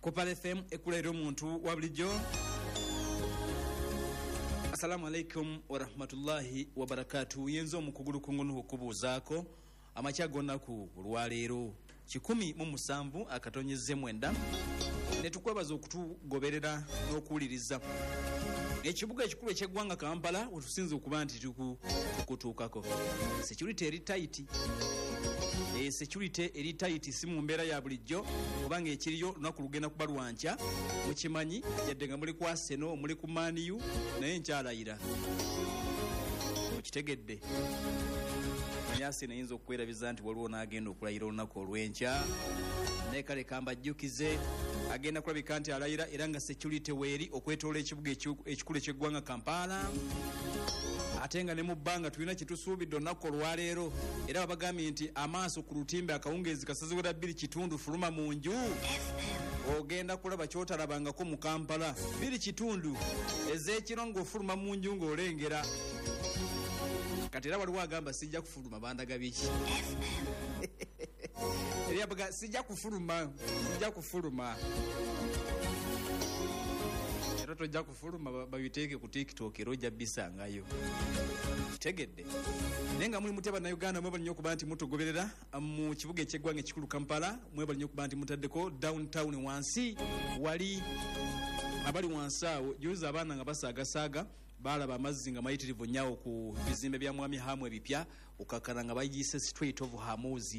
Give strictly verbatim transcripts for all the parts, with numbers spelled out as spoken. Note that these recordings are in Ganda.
Ku Pearl F M ekula eri omuntu wa bulijjo. Assalamu alaikum warahmatullahi wabarakatuh. Yenzo omukugulu kungunu okubuuzaako amakya g'olunaku olwaleero kikumi mu musanvu akatonyeze mwenda, ne tukwebaza okutugoberera n'okuwuliriza. Ekibuga ekikulu eky'eggwanga Kampala wetusinze okuba nti tukutuukako. Security eri tight. E security eri tight si mu mbeera ya bulijjo, kubanga ekiriyo lunaku lugenda kuba lwankya mukimanyi, yadde nga muli ku Arsenal, muli ku Man U, naye nkyalayira okitegedde. Arsenal eyinza okukwerabiza nti waliwo n'agenda okulayira olunaku olw'enkya, naye kale kambajjukize agenda kulabika nti alayira, era nga security weeri okwetoola ekibuga ekikulu eky'eggwanga Kampala. Ate nga ne mu bbanga tulina kyetusuubidde olunaku olwaleero, era babagambye nti amaaso ku lutimbe akawungeezi kasaziwera bbiri kitundu, fuluma mu nju ogenda kulaba kyotalabangako mu Kampala. Bbiri kitundu ez'ekiro ng'ofuluma mu nju ng'olengera. Kati era waliwo agamba sijja kufuluma, bandaga biki? Era abaga sijja kufuluma, sijja kufuluma. Era tojja kufuluma, babiteeke ku TikTok era ojja bisangayo. Kitegedde. Naye nga muli mutya Bannayuganda, mwebale nnyo okuba nti mutugoberera mu kibuga eky'eggwanga ekikulu Kampala. Mwebale nnyo okuba nti mutaddeko downtown wansi, wali abali wansi awo juzi abaana nga basaagasaaga baalaba amazzi nga mayitirivu nnyo ku bizimbe bya Mwami Hamu ebipya, okakana nga bagiyise Strait of Hormuz,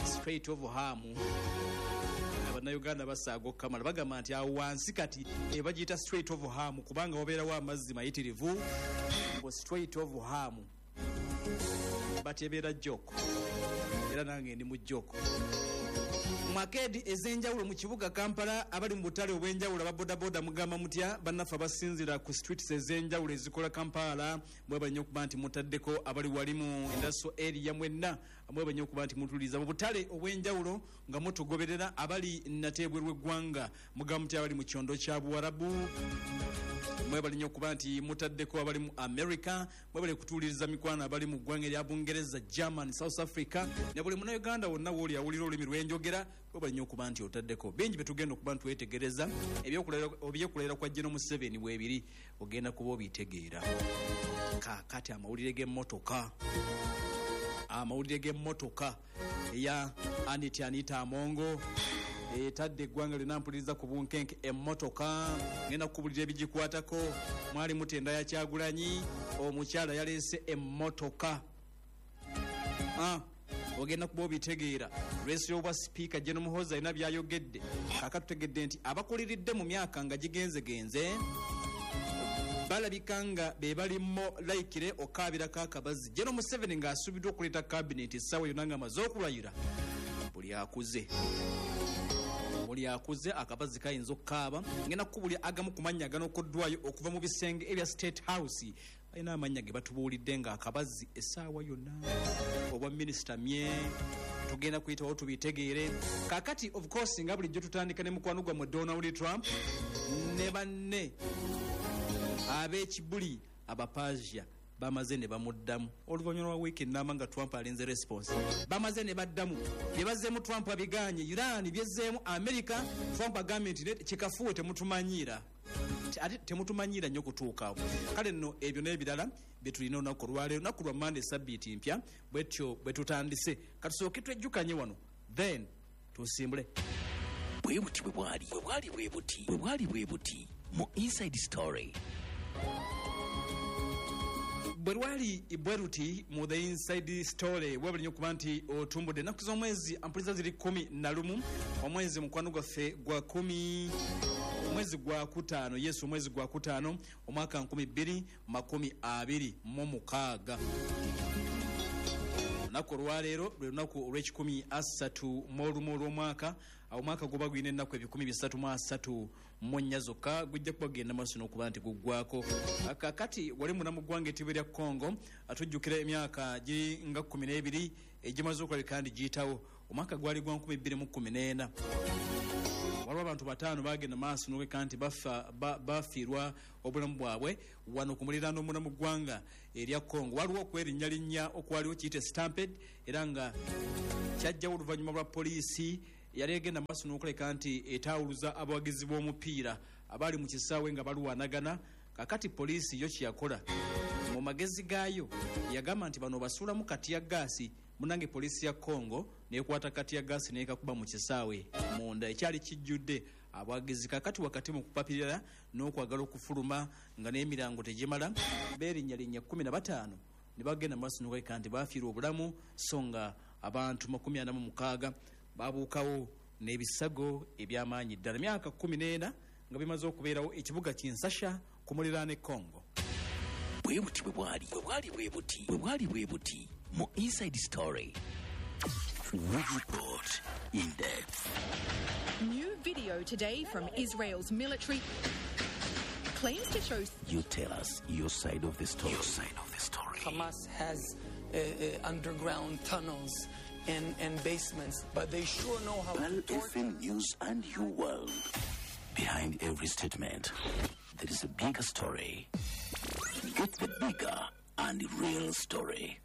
Strait of Hamu. Bannayuganda basaaga okukamala, bagamba nti awo wansi kati ebagiyita Strait of Hamu kubanga wabeerawo amazzi mayitirivu. Strait of Hamu batebeera joko, era nange ndi mu joko. Mwakedi ez'enjawulo mu kibuga Kampala, abali mu butale obw'enjawulo ababodaboda mugamba mutya? Bannaffe abasinzira ku streets ez'enjawulo ezikola Kampala, mwebale nnyo okuba nti mutaddeko. Abali wali mu industrial area mwenna mwebale nnyo okuba nti mutuliza mu butale obw'enjawulo nga mutugoberera. Abali nate ebweru w'eggwanga mugamba mutya? Abali mu kyondo kya Buwarabu mwebale nnyo okuba nti mutaddeko. Abali mu America mwebale kutuwuliriza mikwano. Abali mu ggwanga erya Bungereza, German, South Africa ne buli Munnayuganda wonna wooli awulira olulimi lwenjogera, mwebale nnyo okuba nti otaddeko. Bingi byetugenda okuba nti twetegereza, ebyokulayira kwa General Museveni bwebiri ogenda kuba obitegeera. Kaakati amawulire g'emmotoka, amawulire g'emmotoka eya Anita Anita Amongo etadde eggwanga lyonna mpuliriza ku bunkenke. Emmotoka ngenda kukubulira ebigikwatako. Mwali mutenda ya Kyagulanyi, omukyala yaleese emmotoka. Ah, ogenda kuba obitegeera. Lwesi y'obwa sipiika, General Muhoozi alina byayogedde. Kaaka tutegedde nti abakuliridde mu myaka nga gigenzegenze balabika nga be balimo layikire okaabirako akabazi. General Museveni ng'asuubiddwa okuleeta kabineti essaawa yonna ng'amaze okulayira, buli akuze buli akuze akabazi kayinza okukaaba. Ngenda kukubulya agamu ku mannya aganokoddwayo okuva mu bisenge ebya State House. Balina amannya ge batubuulidde nga akabazi essaawa yonna obwa minisita mye tugenda kuyitawo tubitegeere. Kakati of course nga bulijjo tutandika ne mukwano gwammwe Donald Trump ne banne ab'ekibuli Abapasia bamaze ne bamuddamu oluvannyuma lwa wiiki ennamba nga Trump alinze response. Bamaze ne baddamu bye bazzeemu. Trump abiganye, Iran byezzeemu America. Trump agambye nti kikafuwe, temutumanyiira, ate temutumanyiira nnyo kutuukaawo. Kale nno ebyo n'ebirala bye tulina olunaku olwaleero, olunaku lwa Mande, sabbiiti mpya, bwetyo bwe tutandise. Katusooke twejjukanye wano, then tusimbule. Bwe buti bwe bwali, bwe bwali bwe buti, bwe bwali bwe buti mu Inside Story. Bwe lwali bwe luti mu The Inside Story. Webale nnyo okuba nti otumbudde. Ennaku z'omwezi ampuliza ziri kumi na lumu, omwezi mukwano gwaffe gwa kumi, omwezi gwa kutaano, yesu, omwezi gwa kutaano, omwaka nkumi bbiri makumi abiri mu mukaaga. Olunaku olwaleero lwe lunaku olw'ekikumi asatu mu olumu olw'omwaka. Omwaka guba gulina ennaku ebikumi bisatu mu asatu mu nnya zokka, gujja kuba gugenda maaso n'okuba nti guggwako. Kakati wali muna mu ggwanga ettibo erya Congo, tujjukira emyaka giri nga kumi n'ebiri egimaze okulabika ndi giyitawo. Omwaka gwali gwa nkumi bbiri mu kkumi n'ena. Waliwo abantu bataano bagenda maaso noleka nti bafiirwa obulamu bwabwe wano ku muliraano omuna mu ggwanga erya Congo. Waliwo okwerinnya okwaliwo kiyite stampede, era nga kyajjawo oluvannyuma lwa poliisi Yali egenda maaso n'okuleka nti etaawuluza abawagizi b'omupiira abaali mu kisaawe nga balwanagana. Kakati poliisi yo kyeyakola mu magezi gaayo yagamba nti bano basuulamu kati ya gaasi. Munange, poliisi ya Congo nekwata kati ya gaasi nekakuba mu kisaawe munda ekyali kijjudde abawagizi. Kakati wakati mu kupapirira n'okwagala okufuluma nga n'emirango tegimala, beerinnyalinnya kumi na bataano ne bagenda mu maaso n'okuleka nti baafiirwa obulamu, so nga abantu makumi ana mu mukaaga babuukawo n'ebisago eby'amaanyi ddala. Myaka kumi n'ena nga bimaze okubeerawo ekibuga Kinshasa ku muliraano e Congo. Bwe buti bwe bwali, bwe bwali bwe buti, bwe bwali bwe buti mu Inside Story. We report in depth. New video today from Israel's military claims to show You tell us your side of the story. Your side of the story. Hamas has uh, uh, underground tunnels and, and basements, but they sure know how Pearl to torture. F M News and your world. Behind every statement, there is a bigger story. Get the bigger and real story.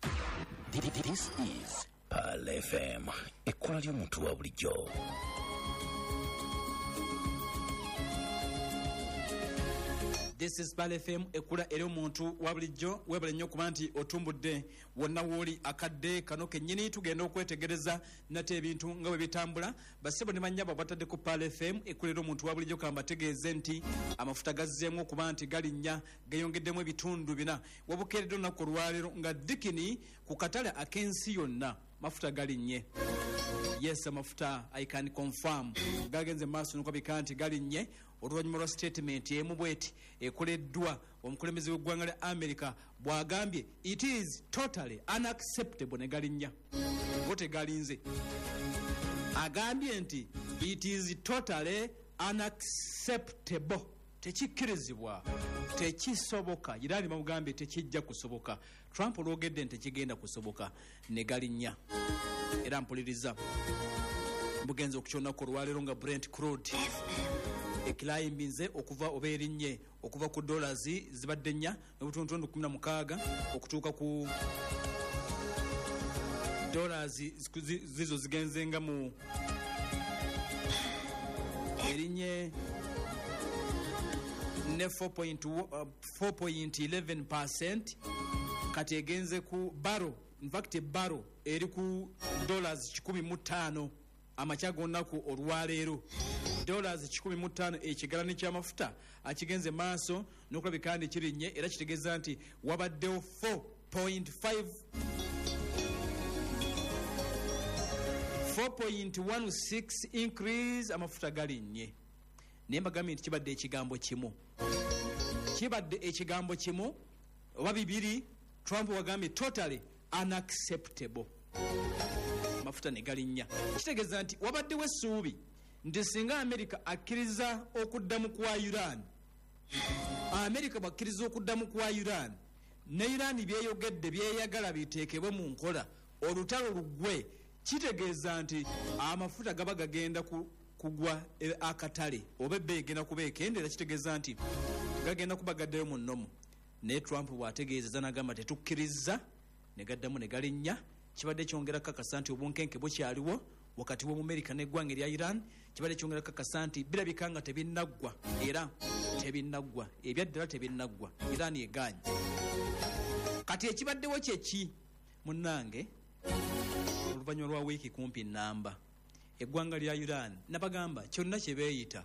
This is Pearl F M. Ekkula ly'omuntu wa bulijjo. This is Pearl F M, ekkula eri omuntu wa bulijjo. Weebale nnyo okuba nti otumbudde wonna wooli akadde kano kennyini. Tugenda okwetegereza nate ebintu nga bwe bitambula. Bassebo ne bannyabo batadde ku Pearl F M, ekkula eri omuntu wa bulijjo, kambategeeze nti amafuta gazzeemu okuba nti galinnya, geyongeddemu ebitundu bina. Wabukeeredde olunaku olwaleero nga dikini ku katale ak'ensi yonna mafuta galinnye. Yes, amafuta, I can confirm, gagenze maaso nokwabika nti galinnye oluvannyuma lwa statement emu bweti ekoleddwa omukulembeze w'eggwanga lya America bw'agambye, "It is totally unacceptable," ne galinnya. Go tegalinze, agambye nti it is totally unacceptable, tekikkirizibwa, tekisoboka. Irani bamugambye tekijja kusoboka. Trump olwogedde nti tekigenda kusoboka, ne galinnya. Era mpuliriza bugenza okukyonako olwaleero nga Brent crude ekirayimbinze okuva oba erinnye okuva ku dollars zibadde nnya n'obutundutundu kumi na mukaaga okutuuka ku dollars zizo zigenzenga mu erinnye ne four point eleven percent. Kati egenze ku barrel, in fact barrel eri ku dollars kikumi mu ttaano amakya g'olunaku olwaleero, dollars kikumi mu ttaano ekigalani ky'amafuta akigenze maaso n'okulabika nti kirinnye. Era kitegeeza nti wabaddewo four point five four point one six increase, amafuta galinnye. Naye mbagambye nti kibadde ekigambo kimu, kibadde ekigambo kimu oba bibiri. Trump wagambye totally unacceptable, amafuta ne galinnya. Kitegeeza nti wabaddewo essuubi nti singa Amerika akkiriza okuddamu kwa Iran, Amerika bwakkiriza okuddamu kwa Iran ne Iran byeyogedde byeyagala biteekebwe mu nkola, olutalo luggwe, kitegeeza nti amafuta gaba gagenda kugwa akatale oba ebbeeyi egenda kuba ekendera. Kitegeeza nti gagenda kuba gaddayo mu nnomu. Naye Trump bw'ategeezeza n'agamba tetukkiriza, ne gaddamu ne galinnya. Kibadde kyongera kakasa nti obunkenke bukyaliwo wakati w'Omumerika n'eggwanga erya Iran. Kibadde kyongera kakasa nti birabika nga tebinnaggwa, era tebinnaggwa, ebyaddala tebinnaggwa. Iran egaanye. Kati ekibaddewo kyeki, munnange? Oluvannyuma lwa wiiki kumpi namba, eggwanga lya Iran nabagamba kyonna kye beeyita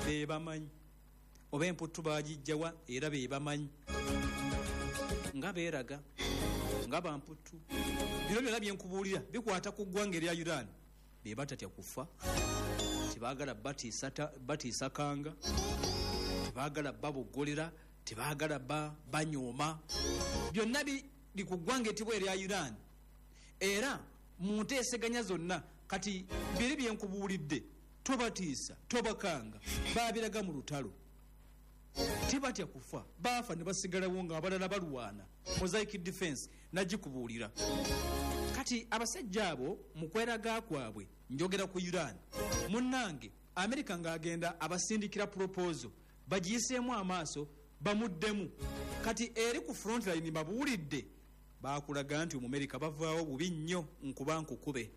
be bamanyi oba emputtu bagijjawa, era be bamanyi nga beeraga nga bamputtu. Bino byonna byenkubuulira bikwata ku ggwanga erya Iran. Be batatya kufa, tebaagala batiisa kanga, tebaagala baboggolera, tebaagala banyooma. Byonna biri ku ggwanga etibwa erya Iran. Era mu nteeseganya zonna kati biri byenkubuulidde, tobatiisa, tobakanga, babiraga mu lutalo, tebatya kufa, baafa ne basigalawo nga abalala balwana. Mosaic defense nagikubuulira. Kati abasajja abo mu kweraga kwabwe, njogera ku Iran, munnange, Amerika ng'agenda abasindikira proposal bagiyiseemu amaaso bamuddemu. Kati eri ku frontline babuulidde bakulaga nti Omumerika bavaawo bubi nnyo, nkuba nkukube,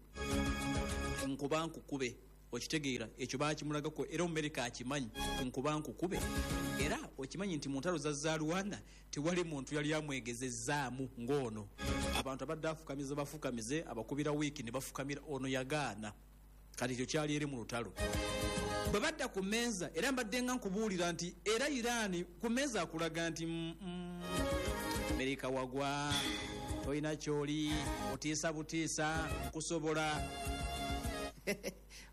nkuba nkukube. Okitegeera ekyo bakimulagako, era Omumerika akimanyi nkuba nkukube. Era okimanyi nti mu ntalo za Zalwana tewali muntu yali amwegezezzaamu ng'ono. Abantu abadde afukamiza bafukamize, abakubira wiiki ne bafukamira, ono yagaana. Kati ekyo kyali eri mu lutalo. Bwe badda ku mmeeza, era mbadde nga nkubuulira nti era Iran ku mmeeza akulaga nti mm, mm, Amerika wagwa, tolina kyoli, otiisa butiisa, nkusobola.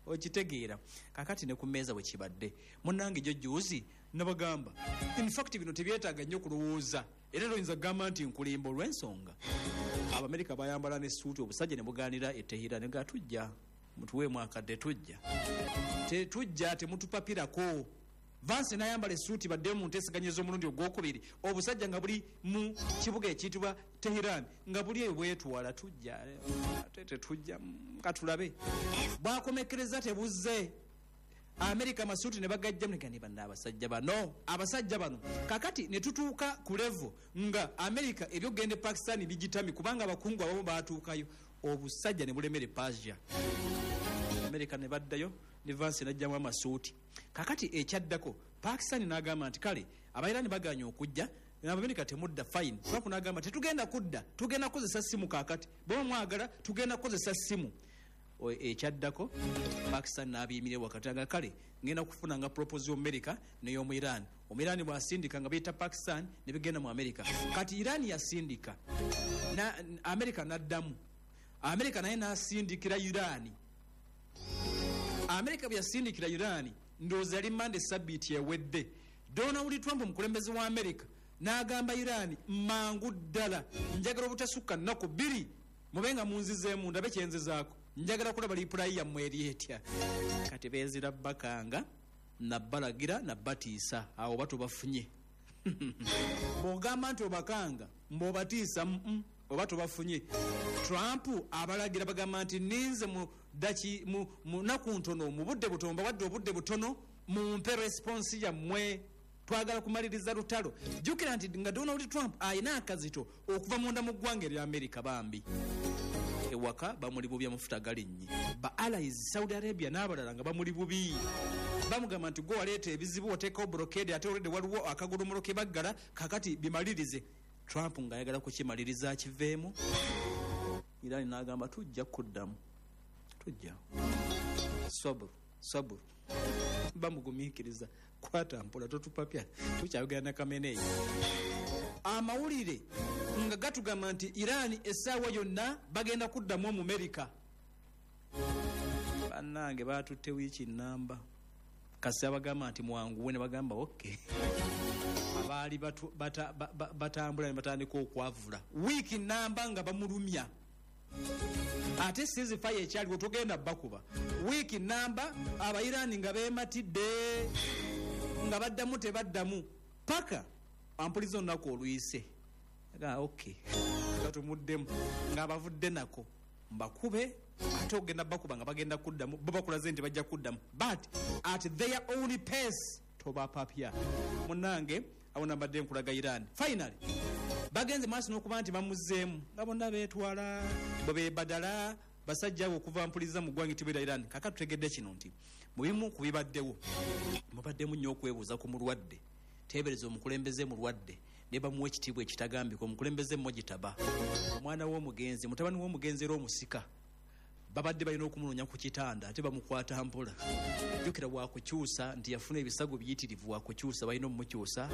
Okitegeera. Kakati ne ku mmeeza bwe kibadde, munnange gyo juzi nabagamba, in fact bino tebyetaaga nnyo kulowooza, era toyinza kugamba nti nkulimba olw'ensonga Abamerika bayambala ne suuti, obusajja ne bugaanira e Tehran, ne ga tujja mutuweemu akadde, tujja tetujja, temutupapirako. Vance n'ayambala essuuti, badde mu nteeseganya ez'omulundi ogwokubiri, obusajja nga buli mu kibuga ekiyitibwa Tehran, nga buli eyo bwetwala, tujja ate tetujja, katulabe. Bwakomekereza tebuzze. Amerika amasuuti ne bagajjamu, ne banna abasajja bano, abasajja bano. Kakati ne tutuuka ku level nga Amerika ebyokugenda e Pakistan bigitami, kubanga abakungu abamu baatuukayo, obusajja ne bulemera e Persia. Amerika ne baddayo ne Vance n'ajjamu amasuuti. Kakati ekyaddako Pakistan n'agamba nti kale Abairani bagaanye okujja, Abamerika temudda, fine. Trump n'agamba tetugenda kudda, tugenda kukozesa ssimu kaakati, bwe mwagala tugenda kukozesa ssimu. Ekyaddako Pakistan n'abiyimirira wakati, aga kale ngenda kufuna nga proposal y'Omumerika n'ey'omu Iran. Omuirani bw'asindika nga biyita Pakistan ne bigenda mu Amerika. Kati Iran yasindika na Amerika n'addamu, Amerika naye n'asindikira Iran. Amerika bwe yasindikira Iran, ndowooza yali Mande sabbiiti ewedde, Donald Trump omukulembeze wa Amerika n'agamba Iran, mangu ddala njagala obutasukka nnaku bbiri mube nga munzizeemu ndabe kyenzizaako, njagala kulaba lipulayi yammwe eri etya. Kati beezira bakanga nabbalagira nabbatiisa, awo oba tubafunye. Bw'ogamba nti obakanga mbw'obatiisa, mm, oba tubafunye. Trump abalagira bagamba nti ninze mu daki mu naku ntono, mu budde butono, mbawadde obudde butono, mumpe response yammwe, twagala kumaliriza lutalo. Jjukira nti nga Donald Trump ayina akazito okuva munda mu ggwanga erya Amerika, bambi ewaka bamuli bubi, amafuta galinnye, ba allies Saudi Arabia n'abalala nga bamuli bubi, bamugamba nti gwe waleeta ebizibu, oteekawo blockade, ate olwedde waliwo akagolomolo ke baggala, kakati bimalirize. Trump ng'ayagala kukimaliriza akiveemu. Iran n'agamba tujja kuddamu, tujja, saburu saburu, bamugumiikiriza, kwata mpola, totupapya, tukyayogera na Khamenei. Amawulire nga gatugamba nti Iran essaawa yonna bagenda kuddamu Omumerika. Bannange baatutte wiiki nnamba, kasi abagamba nti mwanguwe, ne bagamba okay. Abaali batambula ne batandika okwavula wiiki nnamba nga bamulumya, ate ceasefire ekyaliwo tugenda bakuba wiiki nnamba. Abairani nga beematidde nga baddamu tebaddamu, paka ampuliza olunaku oluyise, okay katumuddemu ng'abavudde nako mbakube, ate ogenda bakuba nga bagenda kuddamu, bo bakulaze nti bajja kuddamu, but at their own pace, tobapapya. Munnange awo nambadde nkulaga Iran finally bagenze maaso n'okuba nti bamuzzeemu, nga bonna beetwala bwe beebadala basajja abo okuva mpuliza mu ggwanga etibera Iran. Kaka tutegedde kino nti mu bimu ku bibaddewo mubaddemu nnyo okwebuuza ku mulwadde. Teebereza omukulembeze mulwadde ne bamuwa ekitiibwa ekitagambika, omukulembeze Mojitaba, omwana w'omugenzi, mutabani w'omugenzi era omusika, babadde balina okumunoonya ku kitanda ate bamukwata mpola. Jjukira wakukyusa nti yafuna ebisago biyitirivu, wakukyusa balina omumukyusa.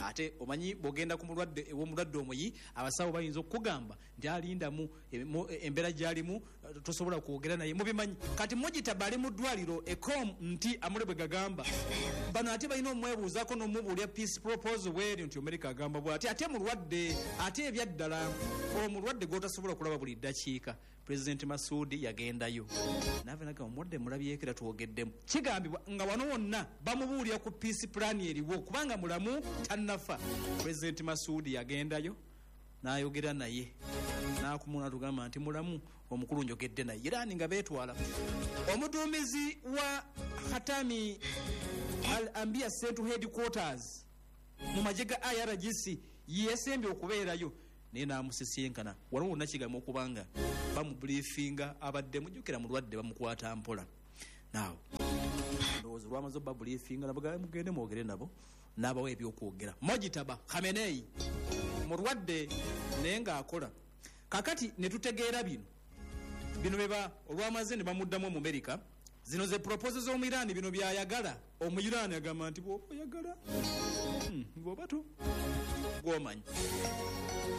Ate omanyi bw'ogenda ku mulwadde ew'omulwadde omuyi, abasawo bayinza okukugamba nti alindamu embeera gy'alimu, tosobola kwogera naye, mubimanyi. Kati Mojitaba ali mu ddwaliro ekom nti amule bwe gagamba bano, ate balina omwebuuzaako n'omubuulya peace proposal bweri nti Amerika agamba bw'ati, ate mulwadde, ate ebyaddala omulwadde gw'otasobola kulaba buli ddakiika. President Masudi yagendayo naava nagamba omulwadde mulabyeko era twogeddemu. Kigambibwa nga wano wonna bamubuulira ku peace plan eriwo, kubanga mulamu tannafa. President Masudi yagendayo n'ayogera naye n'akumuna tugamba nti mulamu omukulu njogedde naye. Iran nga beetwala. Omuduumizi wa Khatami Al-Anbiya Central Headquarters mu magye ga I R G C yesembye okubeerayo, naye n'amusisinkana. Wano wonna kigambibwa okubanga bamubriefinga, abadde mujjukira mulwadde bamukwata mpola. Now ndowooza olwamaze obba briefinga nabagamba mugende mwogere nabo, n'abawa ebyokwogera. Mojitaba Khamenei mulwadde naye ng'akola. Kakati ne tutegeera bino bino beba olwamaze ne bamuddamu mu America. Zino ze proposals z'omu Iran, bino byayagala. Omu Iran agamba nti bw'oba oyagala hmm, bw'oba to gw'omanyi.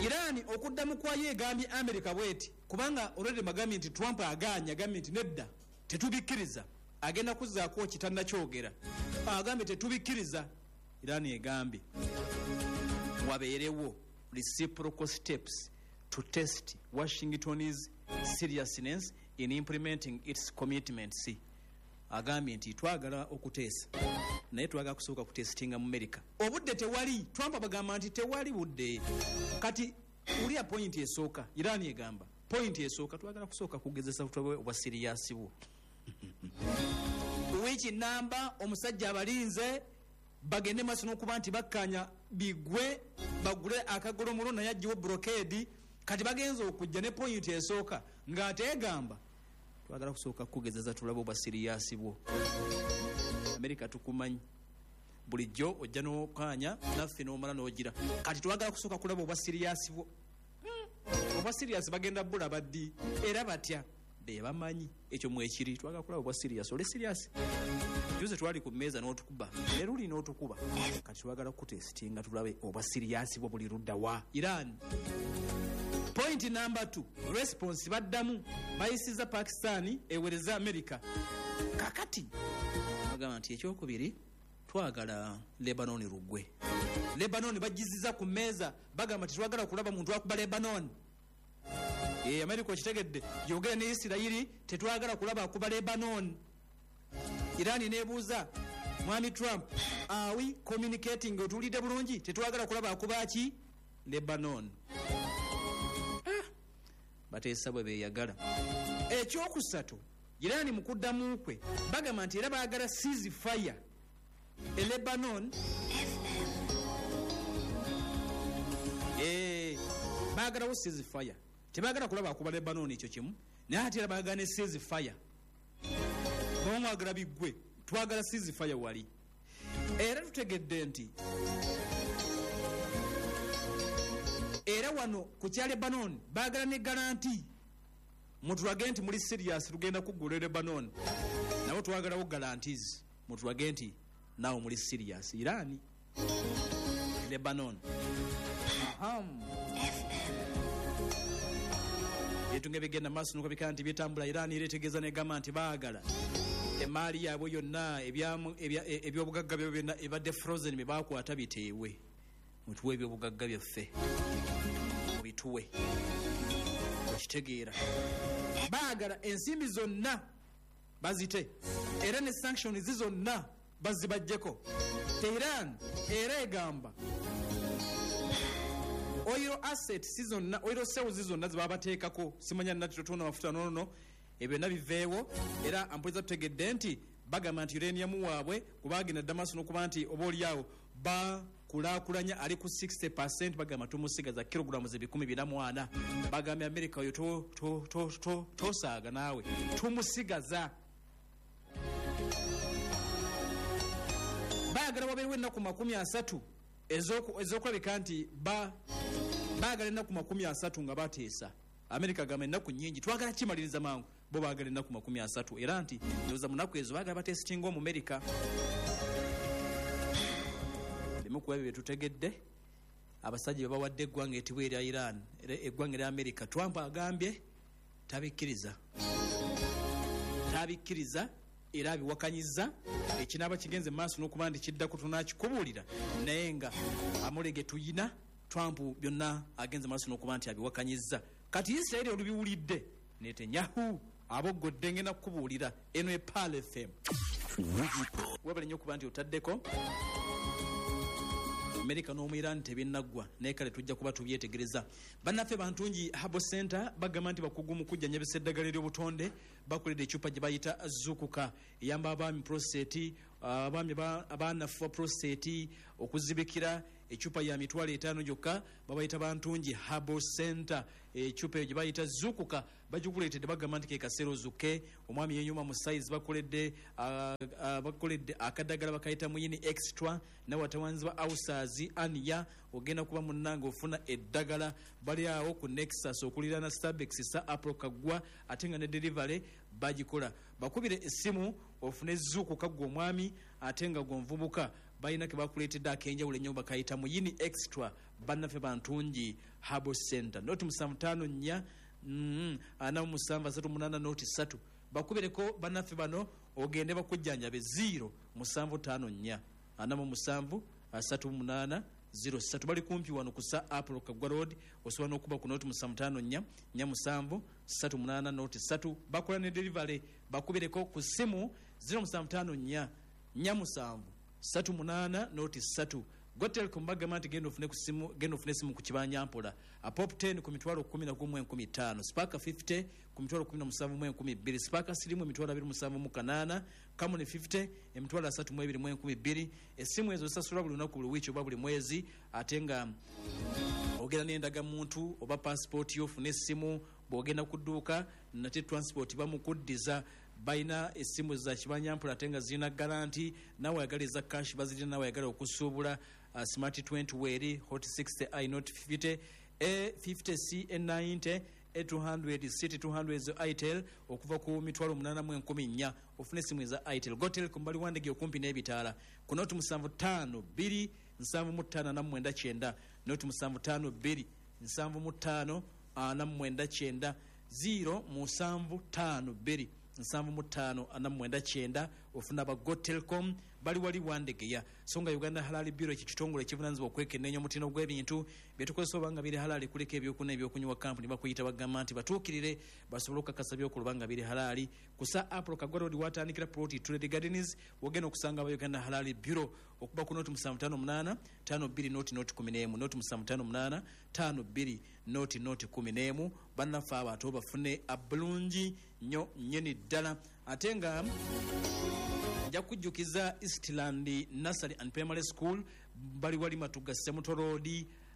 Iran okuddamu kwayo egambye America bweti, kubanga already bagambye nti Trump agaanye, agambye nti nedda tetubikkiriza, agenda kuzzaako kitannakyogera, agambye tetubikkiriza. Iran egambye wabeerewo reciprocal steps to test Washington's seriousness in implementing its commitments. Agambye nti twagala okuteesa, naye twagala kusooka kutestinga mu America. Obudde tewali. Trump abagamba nti tewali budde. Kati ulia point esooka, Iran egamba point esooka twagala kusooka kugezesa tulabe obwa serious bwo. Wiiki namba omusajja abalinze bagende maaso n'okuba nti bakkanya bigwe bagule akagolomulo naye aggyewo blockade. Kati bagenza okujja ne point esooka ng'ate egamba twagala kusooka kugezesa tulabe obwa serious bwo. America tukumanyi bulijjo ojja n'okkaanya naffe n'omala n'ogira. Kati twagala kusooka kulaba obwa serious bwo. Mm. Obwa serious bagenda bulaba ddi era batya be bamanyi ekyo mwekiri. Twagala kulaba obwa serious. Oli serious? Juze twali ku mmeeza n'otukuba ne luli n'otukuba. Kati twagala kutestinga tulabe obwa serious bwo buli ludda wa Iran. Point number two, response baddamu bayisiza Pakistan ewereza America. Kakati bagamba nti ekyokubiri twagala Lebanon lugwe. Lebanon bagiziza ku mmeeza, bagamba nti twagala kulaba muntu akuba Lebanon. Eh, America okitegedde, yogera ne Isirayiri tetwagala kulaba akuba Lebanon. Iran nebuuza Mwami Trump, are we communicating? Otulidde bulungi, tetwagala kulaba akuba ki Lebanon. Ah, bateesa bwe beeyagala. Ekyokusatu, Iran mu kuddamu kwe bagamba nti era baagala ceasefire e Lebanon. Eh, baagalawo ceasefire, tebaagala kulaba akuba Lebanon ekyo kimu, naye ate era baagala ne ceasefire. Bamwagala biggwe, twagala ceasefire wali. Era tutegedde nti era wano ku kya Lebanon baagala ne guarantee, mutulage nti muli serious tugenda kuggula Lebanon, nabo twagalawo guarantees, mutulage nti naawe muli serious. Iran Lebanon. Aham. Ebintu nga bigenda maaso n'okulabika nti bitambula. Iran era etegeeza n'egamba nti baagala emaali yaabwe yonna, ebyobugagga byabwe byonna ebadde frozen bye baakwata biteebwe, mutuwe ebyobugagga byaffe mubituwe. Okitegeera, baagala ensimbi zonna bazite era ne sanctions zonna bazibaggyeko. Tehran era egamba oil assets zonna, oil sales zonna zebabateekako, simanya nati totona mafuta nono, ebyo byonna biveewo. Era ampuliza tutegedde nti bagamba nti uranium waabwe kubagenda Damascus n'okuba nti oba oliawo bakulaakulanya ali ku sixty percent, bagamba tumusigaza kilograms ebikumi bina mu ana. Bagambye America oyo tosaaga naawe tumusigaza. Baagala wabeerewo ennaku makumi asatu ez'okulabika nti baagala ennaku makumi asatu nga bateesa. America agamba ennaku nnyingi twagala kimaliriza mangu, bo baagala ennaku makumi asatu. Era nti ndowooza mu nnaku ezo baagala batesitinga omu America. Bimu ku ebyo bye tutegedde abasajja be bawadde eggwanga etibwa erya Iran, eggwanga erya America. Trump agambye tabikkiriza, tabikkiriza era abiwakanyiza. Ekinaaba kigenze mu maaso n'okuba nti kiddako tunaakikubuulira, naye nga amulege tuyina Trump byonna agenze maaso n'okuba nti abiwakanyiza. Kati Isirayiri olubiwulidde Netanyahu aboggodde, ngenda kukubuulira. Eno e Pearl F M. Webale nnyo okuba nti otaddeko. Amerika n'omu Iran tebinnaggwa, naye kale tujja kuba tubyetegereza. Bannaffe Bantungi Herbal Center bagamba nti bakugu mu kujjanjabisa eddagala ery'obutonde, bakoledde eccupa gye bayita Zukuka, eyamba abaami prostate, abaami abanafu ba prostate okuzibikira. Ecupa ya mitwalo etaano gyokka. Babayita Bantungi Herbal Center. Ecupa eyo gye bayita Zukuka bagikuleetedde, bagamba nti ke kaseera ozukke. Omwami yenyuma mu size. Bakoledde uh, uh, bakoledde akadagala bakayita Muyini Extra, nawe atawanzibwa ausaazi aniya ogenda kuba munnange ofuna eddagala. Bali awo ku Nexus okuliraana Stabex sa Apro Kaggwa, ate nga ne delivery bagikola. Bakubire essimu ofune Zukuka gwe omwami ate nga gwe omuvubuka. Balina ke bakuleetedde ak'enjawulo ennyo, bakayita Muyini Extra. Bannaffe Bantungi Herbal Center, noti musanvu ttaano nnya mm, ana mu musanvu asatu munaana noti ssatu. Bakubireko bannaffe bano ogende bakujjanjabe, zero musanvu ttaano nnya ana mu musanvu asatu munaana zero ssatu. Bali kumpi wano ku Sir Apollo Kaggwa Road. Osobola n'okuba ku noti musanvu ttaano nnya nnya musanvu ssatu munaana noti ssatu. Bakola ne delivery. Bakubireko ku ssimu zero musanvu ttaano nnya nnya musanvu ssatu munaana noti ssatu. Gotelcom bagamba nti genda ofune ku simu, genda ofune esimu ku kibanja mpola. A Pop ten ku mitwalo kumi na gumu enkumi ttaano, Spark fifty ku mitwalo kumi na musanvu mu enkumi bbiri, Spark Slim emitwalo abiri musanvu mu kanaana, Camon fifty emitwalo asatu mu ebiri mu enkumi bbiri. Essimu ezo zisasula buli lunaku, buli wiiki oba buli mwezi, ate nga ogenda n'endagamuntu oba passport yo ofune essimu. Bw'ogenda ku dduuka nate transport bamukuddiza. Balina essimu za kibanyampola ate nga zirina guarantee. Nawe ayagala eza cash bazirina, nawe ayagala okusuubula uh, Smart twenty weeri, Hot sixty i, Note fifty, A fifty C, A ninety, A two hundred, City two hundred zo Itel okuva ku mitwalo munaana mu enkumi nnya ofune essimu eza Itel. Gotelcom bali Wandege okumpi n'ebitaala ku noti musanvu ttaano bbiri nsanvu mu ttaano ana mu mwenda kyenda, noti musanvu ttaano bbiri nsanvu mu ttaano ana mu mwenda kyenda, zero musanvu ttaano bbiri nsanvu mu ttaano ana mu mwenda kyenda. Ofuna aba Gotelcom, bali wali Wandegeya. So nga Uganda Halal Bureau, ekyo kitongole ekivunaanyizibwa okwekenneenya omutindo gw'ebintu byetukozesa oba nga biri halali, kuliko ebyokunywa, ebyokunywa kampuni bakuyita, bagamba nti batuukirire basobole okukakasa byokola oba nga biri halali. Ku Sir Apollo Kaggwa Road watandikira plot Trade Gardens, wogenda okusanga aba Uganda Halal Bureau. Okuba ku noti musanvu ttaano munaana ttaano bbiri noti noti kumi n'emu, noti musanvu ttaano munaana ttaano bbiri noti noti kumi n'emu. Bannaffe abo ate bafune abulungi nnyo nnyini ddala. Ate nga nja kujjukiza Eastland Nursery and Primary School, bali wali Matuga Semuto Road.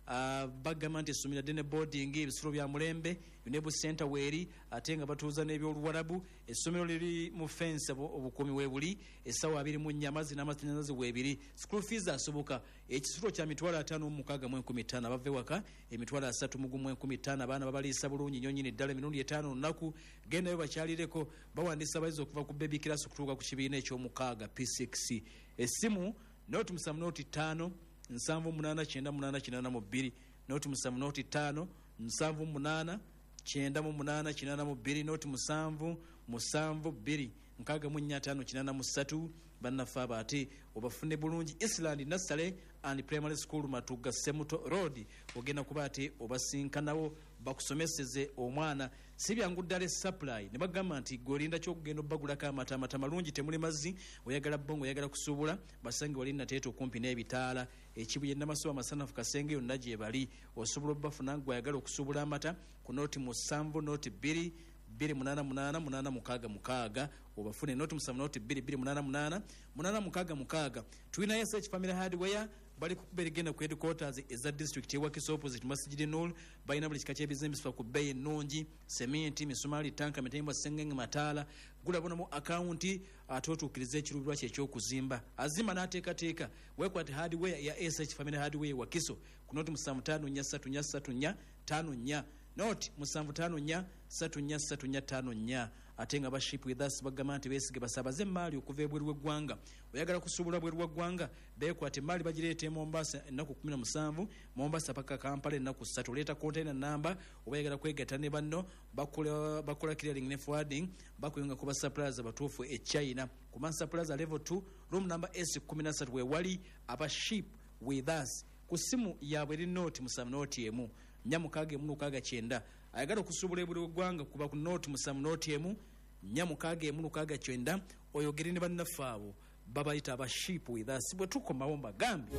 uh, bagamba nti essomero ddene, boarding, ebisulo bya mulembe, UNEB Center weeri, ate nga batuuza n'ebyoluwarabu. Essomero liri mu fence, obukuumi weebuli, essaawa abiri mu nnya amazzi n'amasannyalaze weebiri. School fees asoboka. Ekisulo kya mitwalo ataano mu mukaaga mu enkumi ttaano, abava ewaka emitwalo asatu mu gumu enkumi ttaano. Abaana babaliisa bulungi nnyo nnyini ddala emirundi etaano olunaku. Gendayo bakyalireko. Bawandiisa abayizi okuva ku baby class okutuuka ku kibiina ekyomukaaga, P six. Essimu noti musanvu noti ttaano nsanvu munaana kyenda munaana kinaana mu bbiri, noti musanvu noti ttaano nsanvu munaana kyenda mu munaana kinaana mu bbiri, noti musanvu musanvu bbiri nkaaga mu nnya ttaano kinaana mu ssatu. Bannaffe abo ate obafune bulungi, Eastland Nursery and Primary School, Matuga Semuto Road. Ogenda kuba ate obasinkanawo bakusomeseze omwana. Si byangu ddala supply ne bagamba nti gwe olinda kyokugenda obbagulako amata, amata malungi, temuli mazzi. Oyagala bongo, oyagala kusuubula, basange wali Nateeta okumpi n'ebitaala, Ekibuye, Namasuba, Amasanafu, Kasenge, yonna gye bali osobola obbafuna. Gwe ayagala okusuubula amata, ku noti musanvu noti bbiri bbiri munaana munaana munaana mukaaga mukaaga obafune, noti musanvu noti bbiri bbiri munaana munaana munaana mukaaga mukaaga. Tulinayo S H Family Hardware, bali kukuba erigenda ku headquarters eza district ewakiso, opposite Masjid Nur. Balina buli kika ky'ebizimbisibwa ku bbeeyi ennungi: seminti, misumaali, tanka, mitayimbwa, sengenge, mataala. Gula bunomu akawunti ate otuukirize ekiruubirwa kye ekyokuzimba. Azima n'ateekateeka. Weekwate hardware ya S H Family Hardware Wakiso ku noti musanvu ttaano nnya ssatu nnya ssatu nnya ttaano nnya, noti musanvu ttaano nnya ssatu nnya ssatu nnya ttaano nnya. Ate nga ba Ship With Us bagamba nti beesige basaabaze emaali okuva ebweru w'eggwanga. Oyagala kusuubula bweru w'eggwanga, beekwata. Emaali bagireeta e Mombasa ennaku kumi na musanvu, Mombasa paka Kampala ennaku ssatu. Oleeta container namba oba oyagala kwegatta ne banno. bakola bakola clearing ne forwarding, bakuyunga ku ba suppliers abatuufu e China. Ku Mansa Plaza level two, room number S thirteen wewali aba Ship With Us. Ku ssimu yaabwe eri nooti musanvu nooti emu nnya mukaaga emu lukaaga kyenda. Ayagala okusuubula ebweru w'eggwanga, kuba ku nooti musanvu nooti emu nnya mukaaga emu lukaaga kyenda, oyogere ne bannaffe abo babayita aba Ship With Us. Bwe tukomawo mbagambe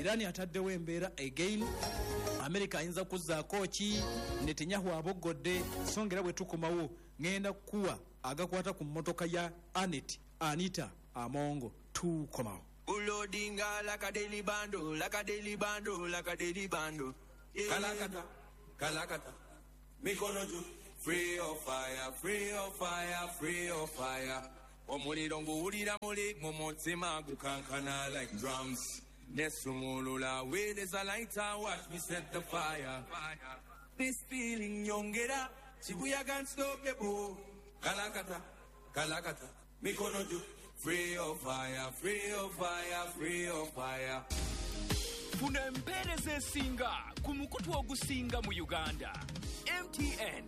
Irani ataddewo embeera again, Amerika ayinza kuzzaako ki, Netanyahu aboggodde. So nga era bwe tukomawo ŋŋenda kukuwa agakwata ku mmotoka ya Anet Anita Amongo. Tukomawo. Loadinga like a daily bando, like a daily bando, like a daily bando. Yeah. Kalakata, kalakata, mikono juu. Free of fire, free of fire, free of fire. Omuliro nguwulira muli mu mutima gukankana like drums. Nesumulula with is a lighter, watch me set the fire. This feeling nyongera, Shibuya can't stop the boom. Kalakata, kalakata, mikono juu. Free of fire, free of fire, free of fire. Funa empeereza esinga ku mukutu ogusinga mu Uganda. M T N.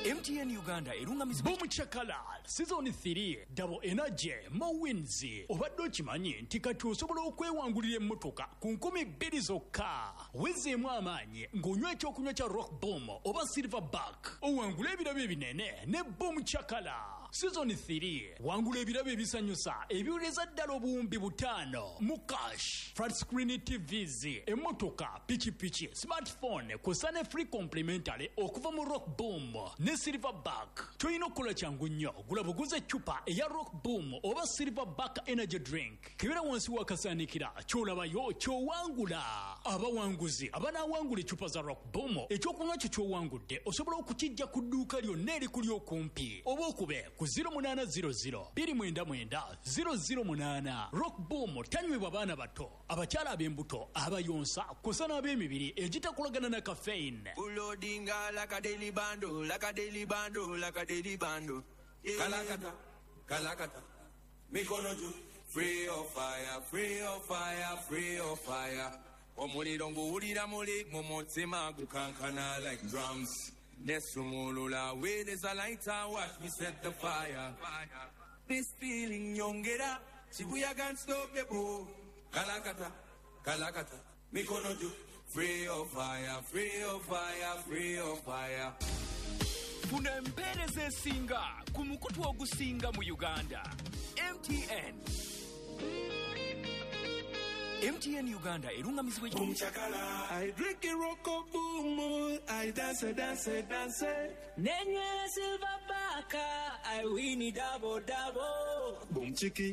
M T N Uganda erungamizibwa Boom Chakala Season three Double Energy Mo Wins. Obadde okimanyi nti kati osobola okwewangulira emmotoka ku nkumi bbiri zokka. Wezeemu amaanyi ng'onywa ekyokunywa kya Rock Boom oba Silverback. Owangula ebirabo ebinene ne Boom Chakala Season three. Wangula ebirabo ebisanyusa ebiwuliriza ddala obuwumbi butaano mu cash, flat screen T Vs, emmotoka, pikipiki, smartphone kw'ossa ne free complimentary okuva mu Rock Boom ne Silverback. Ky'olina okukola kyangu nnyo, gula buguze eccupa eya Rock Boom oba Silverback Energy Drink. Kebera wansi w'akasaanikira ky'olabayo ky'owangula. Abawanguzi abanaawangula eccupa za Rock Boom, ekyokunywa kyo ky'owangudde osobola okukijja ku dduuka lyonna erikuli okumpi oba okube ku zero munaana zero zero bbiri mwenda mwenda zero zero munaana. Rock Boom tanywebwa baana bato, abakyala ab'embuto, abayonsa kw'ossa n'ab'emibiri egitakolagana na caffeine. Loadinga like a daily bando, like a daily bando, like a daily bando. Yeah. Kalakata, kalakata, mikono juu. Free of fire, free of fire, free of fire. Omuliro nguwulira muli mu mutima gukankana like drums. Nesumulula with is a lighter, watch me set the fire. This feeling nyongera, Shibuya can't stop the boom. Kalakata, kalakata, mikono juu. Free of fire, free of fire, free of fire. Funa empeereza esinga ku mukutu ogusinga mu Uganda. M T N. M T N Uganda erungamizibwa Boom Chakala. I drink a rock boom, I dance, dance, dance. Nenye Silverback, I win double double. Boom chiki,